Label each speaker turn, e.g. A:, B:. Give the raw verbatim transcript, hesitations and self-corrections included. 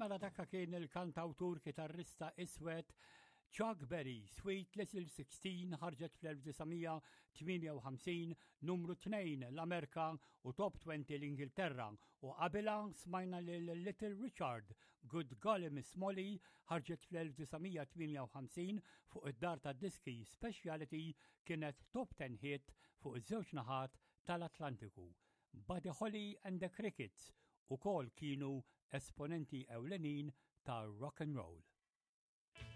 A: Mela dakka kien il-kantawtur kitarrista iswed Chuck Berry, Sweet Little Sixteen ħarġet fl-elf disa' mija tmienja u ħamsin, numru tnejn l-Amerika u top twenty l-Ingilterra, u qabilha smajna lil Little Richard, Good Golly Miss Molly ħarġet fl-elf disa' mija tmienja u ħamsin fuq id-dar tad-diski Speciality, kienet top ten hit fuq iż-żewġ naħat tal-Atlantiku. Buddy Holly and the Crickets ukoll kienu esponenti ewlenin ta' rock and roll.